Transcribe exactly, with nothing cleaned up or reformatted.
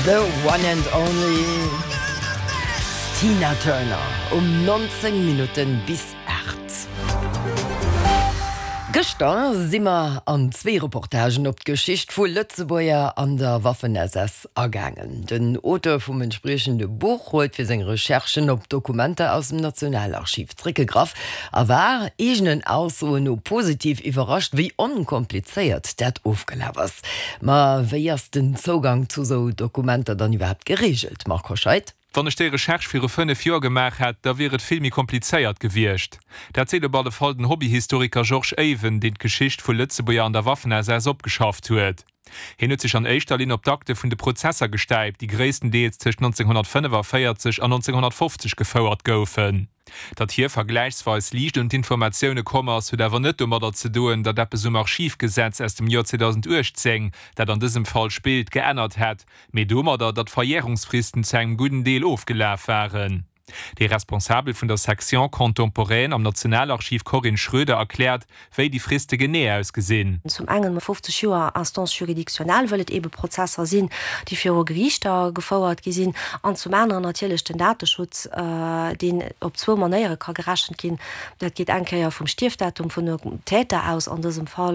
The one and only Tina Turner um neunzéng Minutten bis aacht. Gëschter si mer an zwee Reportagen op d'Geschicht vu Lëtzebuerger an der Waffen-S S agaangen. Den Auteur vum entspriechende Buch huet fir seng Recherchen op Dokumenter aus dem Nationalarchiv zréckgegraff a war eegenen Aussoen no positiv iwwerrascht, wéi onkomplizéiert dat ofgelaf ass. Ma wéi ass den Zougang zu sou Dokumenter dann iwwerhaapt gereegelt, Marc Hoscheid? Wann ech déi Recherche viru fënnef Joer gemaach hätt, da wier et vill méi komplizéiert gewiescht. Dat seet op alle Fall den Hobbyhistoriker Georges Even, deen d'Geschicht vu Lëtzebuerger an der Waffen-S S opgeschafft huet. Hien huet sech an éischter Linn op d'Akte vun de Prozesser gestäipt, déi gréisstendeels tëscht nonzénghonnertfënnefaféierzeg an nonzénghonnertfofzeg gefouert goufen. Datt hie vergläichsweis liicht un d'Informatioune komm ass, huet awer net domadder ze doen, datt eppes um Archivgesetz aus dem Joer zweedausenduechtzéng, dat an dësem Fall spillt, geännert hätt, mee domadder, datt d'Verjärungsfristen zu engem gudden Deel ofgelaf waren. Déi Responsabel vun der Section contemporaine am Nationalarchiv Corinne Schroeder erkläert, wéi déi Friste genee ausgesinn. Zum engen fofzeg Joer Instance juridictionnelle, wëll et ebe Prozesser sinn, déi viru Geriichter gefouert gi sinn, an zum aneren natierlech den Dateschutz, deen op zwou Manéiere ka gerechent ginn. Dat geet eng Kéier vum Stierfdatum vun dem Täter aus an dësem Fall.